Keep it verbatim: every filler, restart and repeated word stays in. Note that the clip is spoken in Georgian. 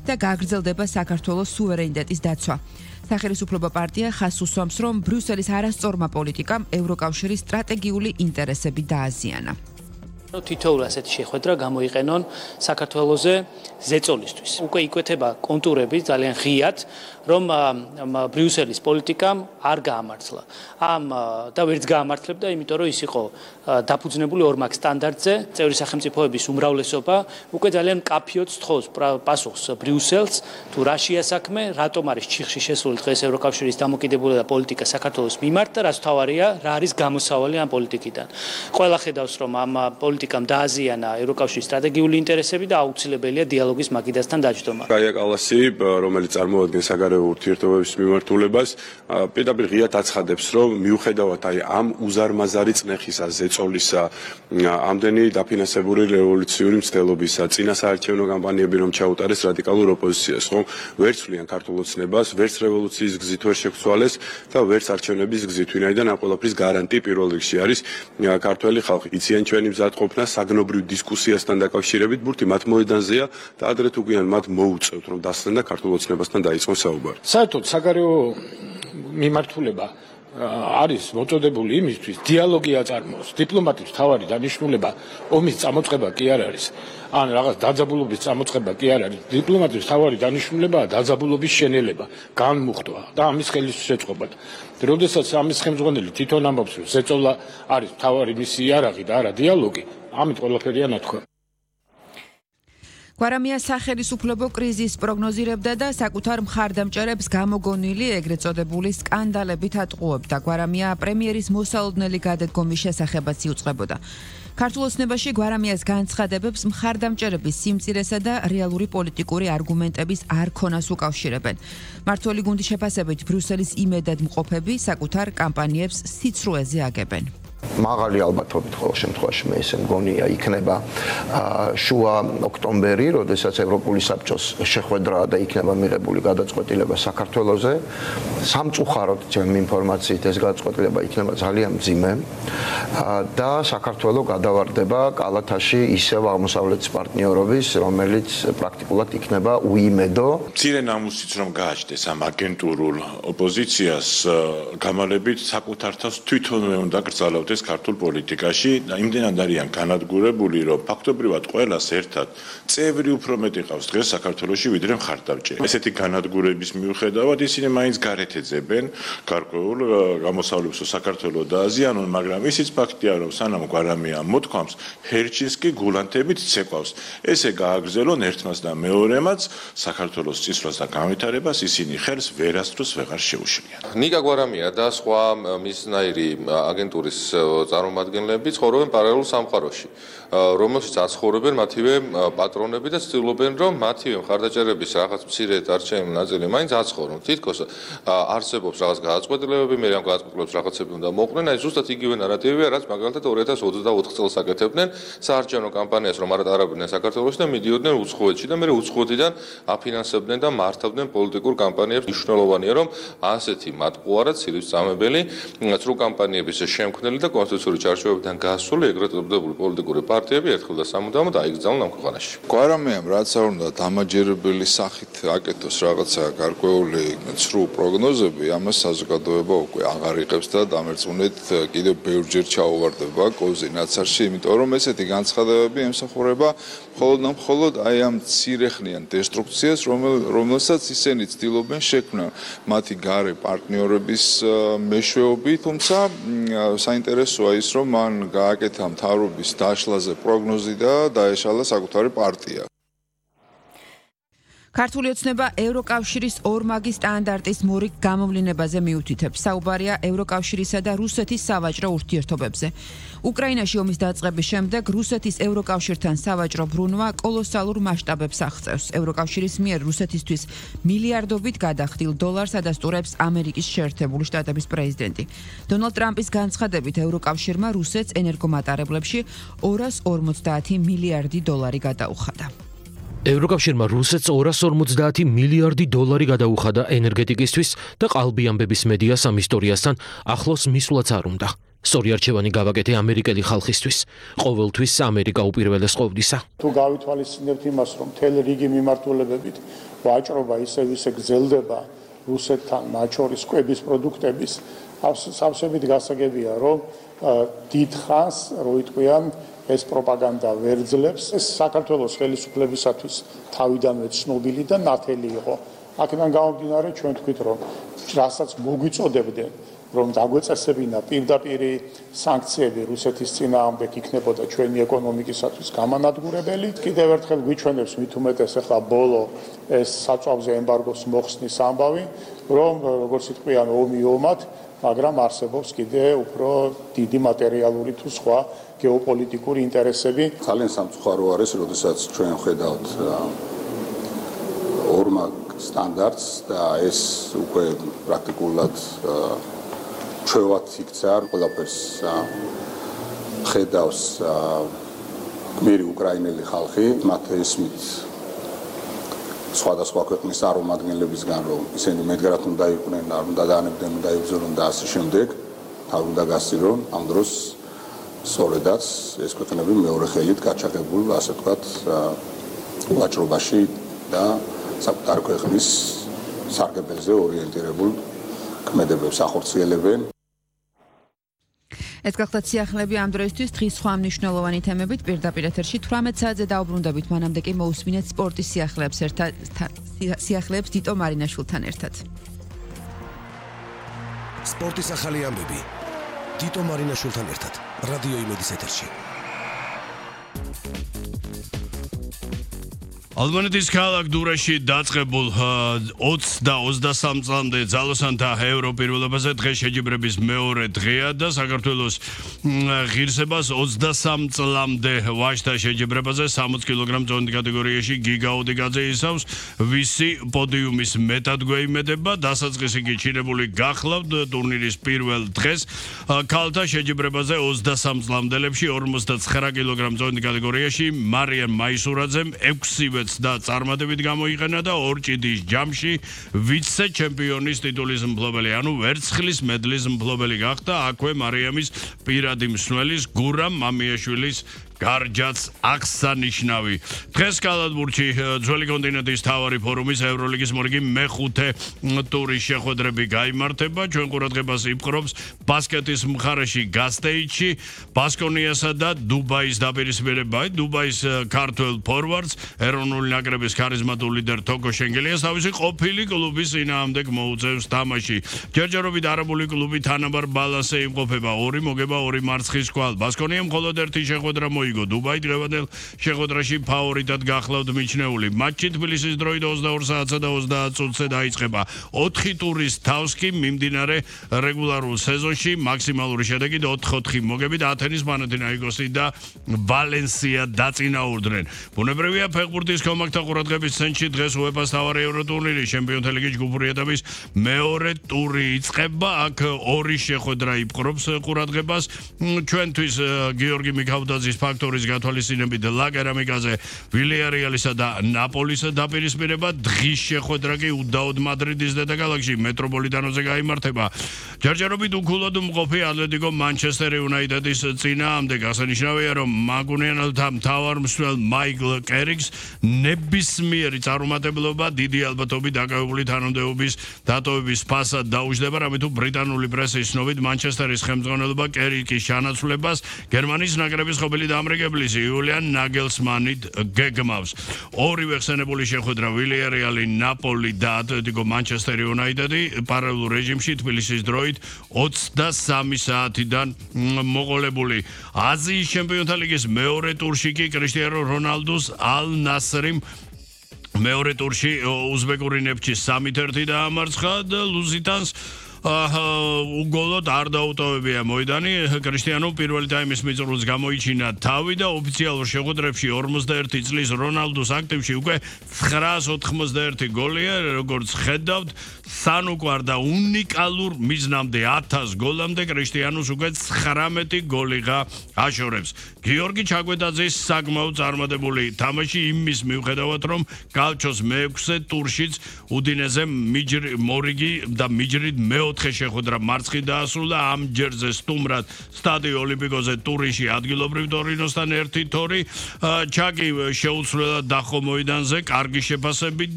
და გაგრძელდება საქართველოს სუვერენიტეტის დაცვა. სახელმწიფო პარტია ხაზს უსვამს, რომ ბრიუსელის არასწორმა პოლიტიკამ ევროკავშირის სტრატეგიული ინტერესები დააზიანა. თითოეულ ასეთი შეხვედრა გამოიყენონ საქართველოზე ზეწოლისთვის. უკვე იკვეთება კონტურები ძალიან ღიად, რომ ბრიუსელის პოლიტიკამ არ გაამართლა. ამ და ვერც გაამართლებდა, იმიტომ რომ ის იყო დაფუძნებული ორმაგ სტანდარტზე. წევრი სახელმწიფოების უმრავლესობა უკვე ძალიან მკაფიოდ სთხოვს პასუხს ბრიუსელს, თუ რა შეასაქმე, რატომ არის ჩიხში შესული დღეს ევროკავშირის დამოკიდებულება პოლიტიკა საქართველოს მიმართ და რაც თავარია, რა არის გამოსავალი ამ პოლიტიკიდან. ყველა ხედავს, რომ ამ პოლიტიკამ დააზიანა ევროკავშირის სტრატეგიული ინტერესები და აუცილებელია დიალოგის მაგიდასთან დაჯდომა. გაია კალასი, რომელიც წარმოადგენს საგარეო ურთიერთობების მიმართულებას, პირდაპირ ღიად აცხადებს, რომ მიუხედავად აი ამ უზარმაზარი წნეხისა, ზეწოლისა, ამდენი დაფინანსებული რევოლუციური მცდელობისა, წინასაარჩევნო კამპანიები რომ ჩაუტარეს რადიკალურ ოპოზიციას, ხომ ვერც ვლიან ქართულ ოცნებას, ვერც რევოლუციის გზით ვერ შეგვცვალეს და ვერც არჩევნების გზით, ვინაიდან ამ ყველაფრის გარანტი პირველ რიგში არის ქართველი ხალხი. იციან ჩვენი მზადყოფნა საგნობრივ დისკუსიასთან დაკავშირებით, ბურთი მათ მოედანზეა და ადრე თუ გვიან მათ მოუწევთ, რომ დასცენ და ქართულ ოცნებასთან დაიწყონ საუბარი. საერთოდ საგარეო მიმართულება არის მოწოდებული იმისთვის, დიალოგი აწარმოოს. დიპლომატიის მთავარი დანიშნულება ომის წამოწყება კი არ არის, ან რაღაც დაძაბულობის წამოწყება კი არ არის. დიპლომატიის მთავარი დანიშნულებაა დაძაბულობის შენელება, განმუხტვა და ამის ხელისშეწყობა. როდესაც ამის ხელმძღვანელი თვითონ ამბობს, რომ ზეწოლა არის მთავარი მისი იარაღი და არა დიალოგი, ამით ყველაფერია ნათქვამი. გვარამია სახელმწიფო კრიზისს პროგნოზირებდა და საკუთარ მხარდამჭერებს გამოგონილი ეგრეთ წოდებული სკანდალებით ატყუებდა. გვარამია პრემიერის მოსალოდნელი გადადგომის შესახებაც იუწყებოდა. ქართულ ოცნებაში გვარამიას განცხადებებს მხარდამჭერების სიმწირესა და რეალური პოლიტიკური არგუმენტების არქონას უკავშირებენ. მართველი გუნდის შეფასებით ბრიუსელის იმედად მყოფები საკუთარ კამპანიებს სიცრუეზე აგებენ. მაღალი ალბათობით ყოველ შემთხვევაში მე ესე მგონია იქნება შუა ოქტომბერი, როდესაც ევროპული საბჭოს შეხვედრა და იქნება მიღებული გადაწყვეტილება საქართველოზე. სამწუხაროდ ჩემი ინფორმაციით ეს გადაწყვეტილება იქნება ძალიან მძიმე და საქართველო გადავარდება კალათაში ისევ აღმოსავლეთის პარტნიორობის, რომელიც პრაქტიკულად იქნება უიმედო. მცირე ნამუსიც რომ გააჩნდეს ამ აგენტურულ ოპოზიციას, გამალებით საკუთარ თავს თვითონვე უნდა გრძალავდეს ქართულ პოლიტიკაში და იმდენად არიან განადგურებული, რომ ფაქტობრივად ყველას ერთად წევრი უფრო მეტი ყავს დღეს საქართველოში, ვიდრე მხარდამჭერი. ესეთი განადგურების მიუხედავად ისინი მაინც გარეთ ეძებენ გარკვეულ გამოსავლებსო საქართველოს დააზიანონ, მაგრამ ისიც ფაქტია, რომ სანამ გვარამია მოთქვამს, ჰერჩინსკი გულანთებით ცეკვავს. ესე გააგრძელონ ერთმას და მეორემაც საქართველოს წისვლას და განვითარებას ისინი ხელს ვერასდროს ვეღარ შეუშლიან. ნიკა გვარამია და სხვა მისნაირი აგენტურის წარმომადგენლები ცხოვრობენ პარალელურ სამყაროში, რომელშიც აცხოვრებენ მათივე პატრონები და ცდილობენ, რომ მათივე მხარდაჭერების რაღაც მცირე დარჩენილი ნაწილი მაინც აცხოვრონ. თითქოს არსებობს რაღაც გადაწყვეტილებები, მე ამ გადაწყვეტილებებს რაღაცები უნდა მოყვნენ, აი ზუსტად იგივე ნარატივია, რაც მაგალითად ორი ათას ოცდაოთხ წელს აკეთებდნენ საარჩევნო კამპანიას, რომ არ ატარებდნენ საქართველოში და მიდიოდნენ უცხოეთში და მე უცხოეთიდან აფინანსებდნენ და მართავდნენ პოლიტიკურ კამპანიებს. მნიშვნელოვანია, რომ ასეთი მატყუარა ცილისწამებელი წრუ კამპანიების შემქმნელი და კონსტიტუციური ჩარჩოებიდან გასული ეგრეთ წოდებული პოლიტიკური პარტიები ერთხელ და სამუდამოდ აიგზავნონ ამ ქვეყანაში. გვარამიამ რაც არ უნდა დამაჯერებელი სახით აკეთოს რაღაცა გარკვეული ცრუ პროგნოზები, ამას საზოგადოება უკვე აღარ იღებს და დამერწმუნეთ კიდევ ბევრჯერ ჩაუვარდება კოზი ნაცარში, იმიტომ რომ ესეთი განცხადებები ემსახურება მხოლოდ და მხოლოდ აი ამ მცირეხნიან დესტრუქციას, რომელსაც ისინი ცდილობენ შექმნა მათი გარე პარტნიორების მეშვეობით, თუმცა საინტერესოა ის, რომ მან გააკეთა მთავრობის დაშლაზე პროგნოზი და დაეშალა საკუთარი პარტია. ქართული ოცნება ევროკავშირის ორმაგი სტანდარტის მორიგ გამოვლინებაზე მიუთითებს. საუბარია ევროკავშირისა და რუსეთის სავაჭრო ურთიერთობებზე. უკრაინაში ომის დაწყების შემდეგ რუსეთის ევროკავშირთან სავაჭრო ბრუნვა კოლოსალურ მასშტაბებს აღწევს. ევროკავშირის მიერ რუსეთისთვის მილიარდობით გადახდილ დოლარს ადასტურებს ამერიკის შეერთებული შტატების პრეზიდენტი. დონალდ ტრამპის განცხადებით ევროკავშირმა რუსეთს ენერგომატარებლებში ორას ორმოცდაათი მილიარდი დოლარი გადაუხადა. ევროკავშირმა რუსეთს ორას ორმოცდაათი მილიარდი დოლარი გადაუხადა ენერგეტიკისთვის და ყალბი ამბების მედიას ამ ისტორიასთან ახლოს მისვლაც არ უნდა. სწორი არჩევანი გავაკეთე ამერიკელი ხალხისთვის. ყოველთვის ამერიკა უპირველეს ყოფნისა. თუ გავითვალისწინებთ იმას, რომ მთელი რიგი მიმართულებებით ვაჭრობა ისევ ისე გრძელდება რუსეთთან, მათ შორის კვების პროდუქტების, სავსებით გასაგებია, რომ დიდ ხანს, რო იტყვიან, ეს პროპაგანდა ვერ ძლებს. ეს საქართველოს ხელისუფლებისათვის თავიდანვე ცნობილი და ნათელი იყო. აქედან გამომდინარე, ჩვენ თქვით, რომ რასაც მოგვიწოდებდნენ, რომ დაგვეწესებინა პირდაპირი სანქციები რუსეთის წინააღმდეგ იქნებოდა ჩვენი ეკონომიკისათვის გამანადგურებელი. კიდევ ერთხელ გვიჩვენებს მით უმეტეს ახლა ბოლო ეს საწვავზე ემბარგოს მოხსნის ამბავი, რომ როგორც იტყვიან ომი ომად, მაგრამ არსებობს კიდე უფრო დიდი მატერიალური თუ სხვა გეოპოლიტიკური ინტერესები. ძალიან სამწუხარო არის, როდესაც ჩვენ ხედავთ ორმაგ სტანდარტს და ეს უკვე პრაქტიკულად ჩვევად იქცა, ყველაფერს ხედავს გმირი უკრაინელი ხალხი, მათ ესმით სხვადასხვა ქვეყნის წარმომადგენლებისგან, რომ ისინი მედგრად უნდა იყვნენ, არ უნდა დაანებდნენ, უნდა იბრძოლონ და ასე შემდეგ, თავ უნდა გასცირონ, ამ დროს სწორედაც ეს ქვეყნები მეორე ხელით გაჩაღებულ, ასე ვთქვათ, ვაჭრობაში და საკუთარი ქვეყნის სარგებელზე ორიენტირებულ ქმედებებს ახორციელებენ. ეს გახლავთ სიახლეები ამ დროისთვის დღის სხვა მნიშვნელოვანი თემებით პირდაპირ ეთერში თვრამეტ საათზე დაუბრუნდებით, მანამდე კი მოусმინეთ სპორტის სიახლეებს ერთად სიახლეებს დიტო მარინაშვილთან ერთად. სპორტის ახალი ამბები დიტო მარინაშვილთან ერთად რადიო იმედის ეთერში. ალბანეთის ქალაქ დურაში დაწყებულ ოცს და ოცდასამ წლამდე ძალოსანთა ევროპირველობაზე დღეს შეჯიბრების მეორე დღეა და საქართველოს ღირსებას ოცდასამ წლამდე ვაჟთა შეჯიბრებაზე სამოცი კილოგრამ წონით კატეგორიაში გიგა ოდიგაძე ისავს, ვისი პოდიუმის მეტად გვეიმედება, დასაწყისი კი ჩინებული გახლავთ ტურნირის პირველ დღეს. ქალთა შეჯიბრებაზე ოცდასამ წლამდელებში ორმოცდაცხრა კილოგრამ წონით კატეგორიაში მარიამ მაისურაძემ ექვსივე და წარმატებით გამოიყენა და ორჭიდის ჯამში ვიცე ჩემპიონის ტიტულის მფლობელი, ანუ ვერცხლის მედლის მფლობელი გახდა. აქვე მარიამის პირადი მსმელის გურამ მამიაშვილის გარჯაც აღსანიშნავი. დღეს კალათბურთში ძველი კონტინენტის მთავარი ფორუმის ევროლიგის მორიგი მეხუთე ტურის შეხვედრები გაიმართება. ჩვენ ყურადღებას იპყრობს ბასკეტის მხარეში გასტეიჩი, ბასკონიასა და დუბაის დაპირისპირება. დუბაის ქართველ ფორვარდს ეროვნული ნაკრების ქარიზმატულ ლიდერ თოკო შენგელიას თავისი ყოფილი კლუბის წინააღმდეგ მოუწევს თამაში. ჯერჯერობით არაბული კლუბი თანაბარ ბალანსზე იმყოფება, ორი მოგება, ორი მარცხის კვალ. ბასკონიამ მხოლოდ ერთი შეხვედრა იგო დუბაი დღევანდელ შეხვედრაში ფავორიტად გახლავთ მიჩნეული. მატჩი თბილისის დროით ოცდაორ საათსა და ოცდაათ წუთზე დაიწყება. ოთხი ტურის თავს კი მიმდინარე რეგულარულ სეზონში მაქსიმალური შედეგით ოთხ ოთხი მოგებით ათენის პანათინაიკოსი და ვალენსია დაწინაურდნენ. ბუნებრივია ფეხბურთის კომაქტთა ყურადღების ცენტრში დღეს უეფა-ს მთავარი ევროტურნირი ჩემპიონთა ლიგის ჯგუფური ეტაპის მეორე ტური იწყება. აქ ორი შეხვედრა იპყრობს ყურადღებას. ჩვენთვის გიორგი მიქავდაძის ფაქტორის გათვალისწინებით ლა კერამიკაზე ვილიარეალისა და ნაპოლის დაპირისპირება. დღის შეხვედრა კი უდაოდ მადრიდის დედაქალაქში მეტროპოლიტანოზე გაიმართება. ჯერჯერობით უქულად მყოფი ატლეტიკო მანჩესტერ იუნაიტედის წინააღმდეგ. აღსანიშნავია, რომ მაგუნიანელთა მთავარ მსვლელ მაიკლ კერიკს ნებისმიერი წარუმატებლობა დიდი ალბათობით დაკავებული თანამდებობის დატოვების ფასად დაუჯდება, რამით თუ ბრიტანული პრესის ცნობით მანჩესტერის ხელმძღვანელობა კერიკის ჩანაცვლებას გერმანიის ნაკრების ყოფილი ამრიგებლის იულიან ნაგელსმანით გეგმავს. ორივე ხსენებული შეხვედრა ვილიარეალი, ნაპოლი და ატლეტიკო მანჩესტერ იუნაიტედი პარალელურ რეჟიმში თბილისის დროით ოცდასამი საათიდან მოყოლებული. აზიის ჩემპიონთა ლიგის მეორე ტურში კი კრისტიანო რონალდუს ალ ნასრიმ მეორე ტურში უზბეკური ნეფჩი სამი ერთი დაამარცხა და ლუზიტანს უგოლოდ არ დაუტოვებია მოედანი. კრისტიანო პირველი ტაიმის მიწურულს გამოიჩინა თავი და ოფიციალურ შეხვედრებში ორმოცდაერთი წლის რონალდუს აქტივში უკვე ცხრაას ოთხმოცდაერთი გოლია. როგორც ხედავთ, სანუკვარ და უნიკალურ მიზნამდე ათას გოლამდე კრისტიანოს უკვე ცხრამეტი გოლიღა აშორებს. გიორგი ჩაკვეტაძის საკმაოდ წარმატებული თამაში იმის მიუხედავად, რომ კალჩოს მეექვსე ტურშიც უდინეზე მიჯრი მორიგი და მიჯრით მეოთხე მეოთხე შეხვედრა მარცხი დაასრულა ამ ჯერზე სტუმრად სტადიო ოლიმპიკოზე ტურინში ადგილობრივ ტორინოსთან ერთი თორი ჩაკი შეუცვლელად დახო მოედანზე კარგი შეფასებით და